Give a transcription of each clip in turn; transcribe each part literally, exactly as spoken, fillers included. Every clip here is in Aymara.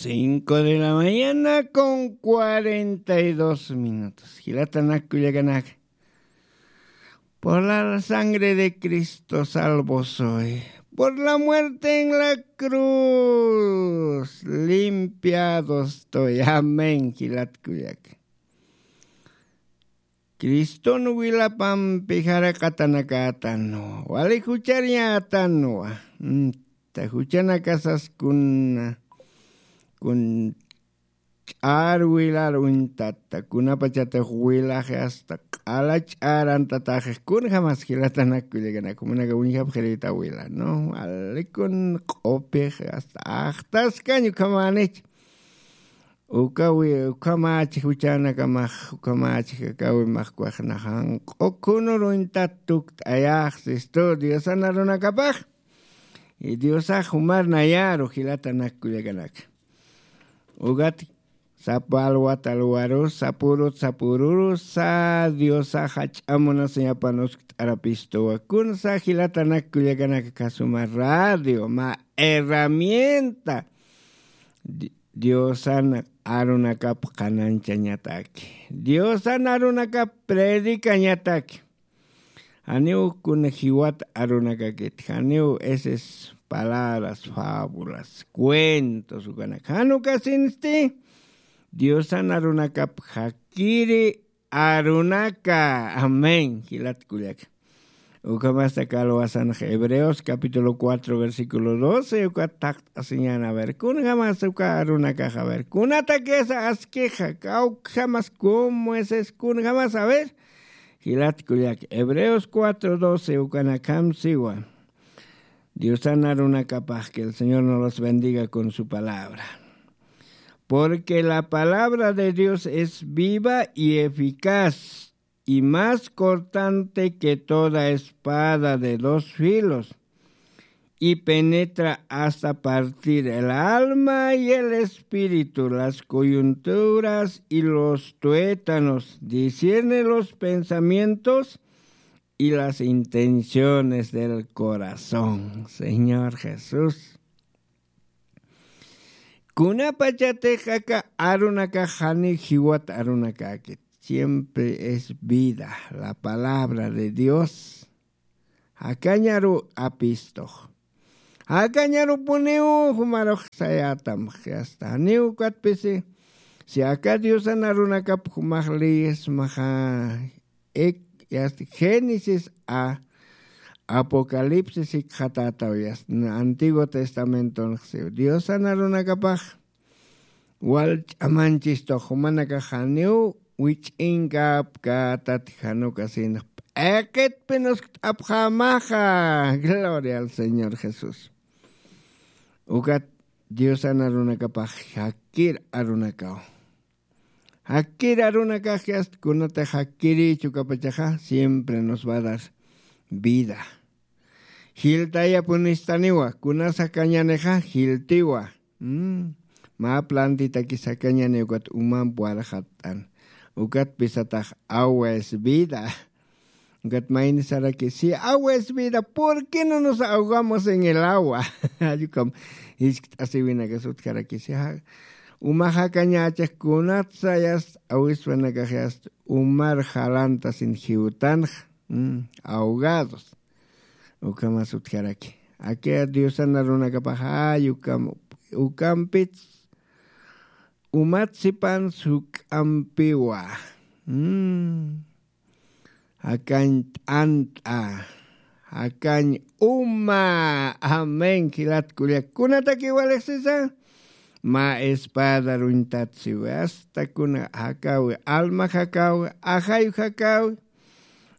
Cinco de la mañana con cuarenta y dos minutos. Jilatanak kullakanaka. Por la sangre de Cristo salvo soy. Por la muerte en la cruz limpiado estoy. Amén. Jilat kullaka. Criston wilapampi jaraqatanakätanwa, wali juchariñätanwa. Mm, ta juchanakasas kuna, kun ch'ar wilar uñtata, kunapachatix wilaxi hasta q'ala ch'ar antataxix, kunjamas jilatanak kullakanak, jumanaka uñjapxirïta wila, ¿no? Wali kun q'upix hasta axtaskañ ukhamänicha. Ukawi, ukhamächix juchanakamax, ukhamächix akawi maxkwaxna janq'u khunur uñtat tukt'ayax, sistu, Diosan arunakapax. Y Diosax jumar nayaru jilatanak kullakanaka. Ukat sapa alwat alwarus, sapurut sapururus, sa Diosax jach'a munasiñapan uskt'arapistuwa. Kunsa jilatanak kullakanaka, suma radio, mä herramienta. Di-, Diosan arunakap qhanañchañataki. Diosan arunakap predicañataki. Janiw kuna jiwat arunakakit, janiw esas palabras, fábulas, cuentos, ukanak. Jan ukasinsti, Diosan arunakap jakiri arunaka. Amén. Jilat kullaka. Ukhamasta kalwasanx Hebreos capítulo cuatro, versículo doce, ukat taqt'asiñan, a ver, kunjamas uka arunakax, a ver, kunatakisa askixa, kawkjamas, cómo es, es, kunjamas, a ver, jilat kullaka. Hebreos cuatro doce, ukanakam siwa. Diosan arunakapax, que el Señor nos los bendiga con su palabra. Porque la palabra de Dios es viva y eficaz, y más cortante que toda espada de dos filos, y penetra hasta partir el alma y el espíritu, las coyunturas y los tuétanos, discierne los pensamientos y las intenciones del corazón. Señor Jesús. Kunapachatix aka arunakax jani jiwat arunakäkit. Siempre es vida, la palabra de Dios. Jakañaru apistux. Jakañarupuniw jumarux sayätam, hasta janiw ukatpisi. Si aka Diosan arunakap jumax leyismaxa, ek, yast Génesis a Apocalipsis jikxatätaw, yast Antiguo Testamentonx siw. Diosan arunakapax wal ch'amañchistux, jumanakax janiw wich'inkapkätat, jan ukasinx p'iqitpin uskt'apxämaxa. Gloria al Señor Jesús. Ukat Diosan arunakapax jakir arunakaw. Jakir arunakax yast kunatix jakirïchi ukapachaxa, siempre nos va a dar vida. Jiltayapunistaniwa, kunas jakañänixa jiltiwa. Mm, mä plantitakis jakañäni ukat umamp warxatt'an. Ukatpis satax agua es vida. Ukat mayni saraki, si agua es vida, ¿por qué no nos ahogamos en el agua? Jall ukam jiskt'asiwinakas utjaraki, si ja-, uma jakañächix kunatsa yast awispanakax yast umar jalantasin jiwtanxa, mm, ahogados. Ukhamas utjaraki. Aka Diosan arunakapax jall ukam, ukampits umat sipan juk'ampiwa. Mm. Jakañ t'ant'a, jakañ uma. Amén, jilat kullak. Kunataki walixsisa, mä espada ruñtat siwi, hasta kuna jakawi, alma jakawi, ajayu jakawi,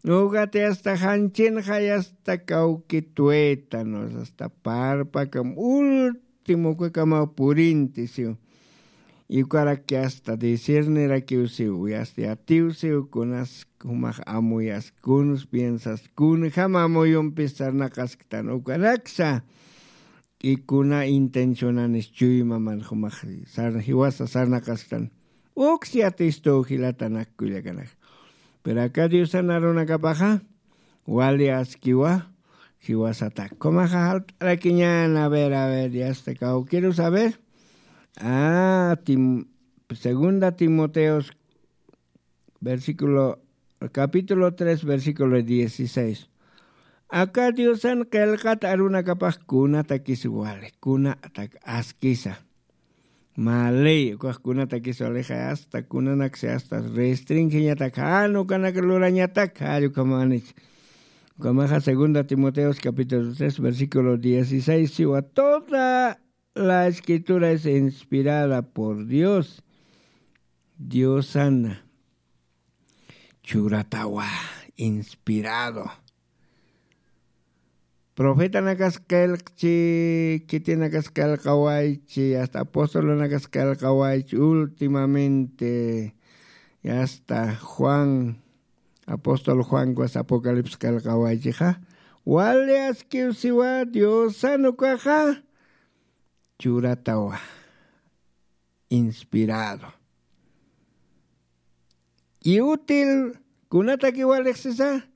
ugati hasta janchinxay, hasta kawki tuétanos, hasta parpakam, último ukakamaw purinti siw. Ukaraki hasta discernirakiw siw, yast yatiw siw, kunas jumax amuyas, kuns piensas, kunjam amuyumpis sarnaqasktan, ukanaksa. Y kuna intencionanis chuymaman jumax sar-, jiwasa sarnaqasktan. Uks yatistuw jilatanak kullakanaka. Pero aka Diosan arunakapaxa, wali askiwa, jiwasatak. Kumaxa jalt'arakiñan, a ver, a ver, yasta kawkirus, a ver. Ah, Tim- segunda Timoteos, versículo, capítulo tres, versículo dieciséis. Aka Diosan qillqat arunakapax kunatakis wali, kunatak askisa. Mä ley, ukax kunatakis walixa hasta kunanaksi hasta restringiñatak, jan ukanak lurañatak, jall ukhamanich. Ukamaxa segunda Timoteos capítulo tres, versículo dieciséis, siwa toda la escritura es inspirada por Dios. Diosana churatawa, inspirado. Profetanakas qillqchi, khitinakas qillqawaychi, hasta apostolanakas qillqawaychi, últimamente, y hasta Juan, apóstol Juan kuwas Apocalipsis qillqawaychixa, wali askiw siwa Diosan ukaxa churatawa, inspirado. Y útil, kunataki walixsisa,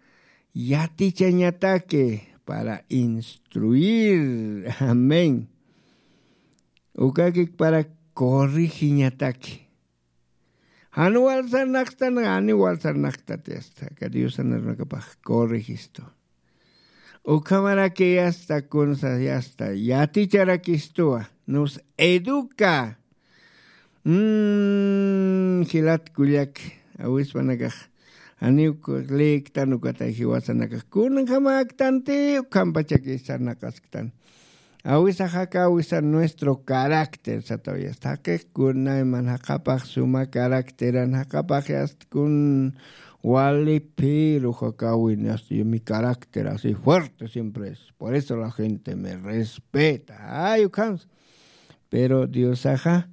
yatichañataki, para instruir. Amén. Ukakik para corrigiñataki. Jan wal sarnaqstan, jan wal sarnaqtati hasta aka Diosan arunakapax corregistu. Ukhamaraki hasta kunsa hasta yaticharakistuwa, nos educa. Mm, jilat kullak, awispanakax, janiw leektan ukata jiwasanakax, kunjamäktanti, ukhampachaki sarnaqasktan. Awisax aka awisa nuestro carácter, sataw yasta. Jaqix kunayman jaqapax suma carácteran, jaqapax yasta kun wali, pero jakawin yasta, mi carácter así fuerte siempre es. Por eso la gente me respeta. Ay, ukhams. Pero Diosaxa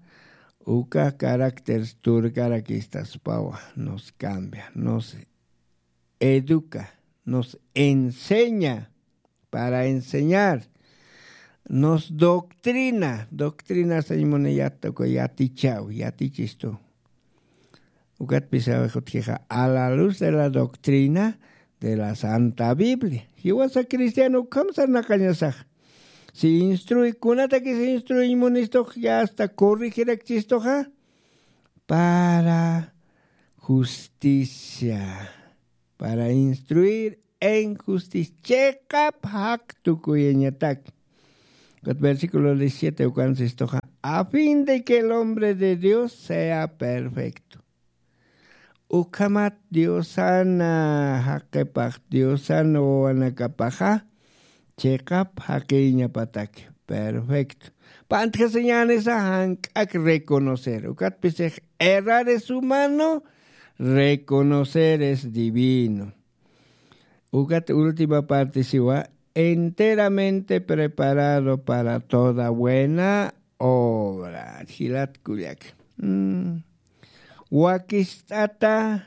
uka carácter turkarakistaspawa, nos cambia, nos educa, nos enseña para enseñar, nos doctrina, doctrina sañ muni yata, uka yatichaw, yatichistu. Ukat pisawi jutkixa, a la luz de la doctrina de la Santa Biblia. Jiwasa cristiano ukham sarnaqañasax. Si instruy, kunatakis instruy munistux, ya hasta corrigirakchistuxa, para justicia, para instruir en justicia. Chiqap jaq tukuyañatak. Ukat versículo diecisiete ukan sistuxa, a fin de que el hombre de Dios sea perfecto. Ukhamat Diosana jaqipax, Diosana wawanakapaxa, chiqap jaqiñapatak. Perfecto. Pantjasiñänisa jank'ak reconocer. Ukat pisix errar es humano, reconocer es divino. Ukat última parte siwa, enteramente preparado para toda buena obra. Jilat kullak. Mm. Wakist'ata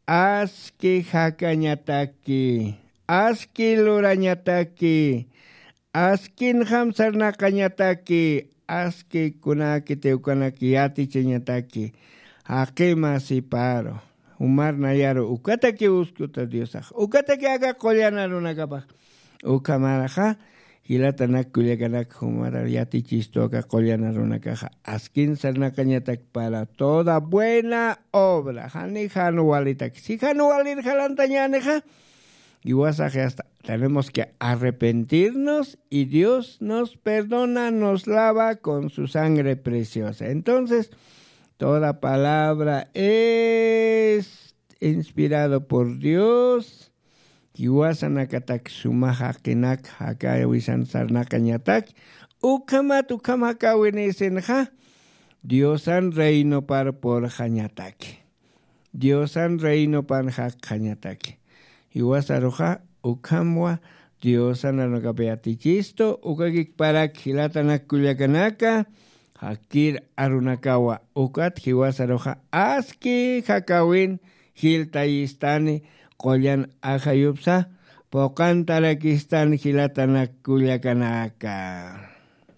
aski jakañataki, aski lurañataki, askinjam sarnaqañataki, aski kunakiti ukanak yatichañataki, jaqima siparu, jumar nayaru, ukataki uskuta Diosax, ukataki aka qullan arunakapax, ukhamaraxa, jilatanak kullakanak jumar yatichistu aka qullan arunakaxa, askin sarnaqañatak para toda buena obra, jani jan walitak, si jan walir jalantañänixa, Jiwasax hasta tenemos que arrepentirnos y Dios nos perdona, nos lava con su sangre preciosa. Entonces, toda palabra es inspirado por Dios. Jiwasanakatak suma jaqinak jakawisan sarnaqañatak, ukhamat ukham jakawinisinxa, Diosan reinopar purxañatak. Diosan reinopan jaqjañataki. Jiwasaruxa ukhamwa Diosan arunakap yatichistu, ukakikparak jilatanak kullakanaka, jakir arunakawa, ukat jiwasaruxa aski jakawin jiltayistani, qullan ajayupsa puqantarakistan jilatanak kullakanaka.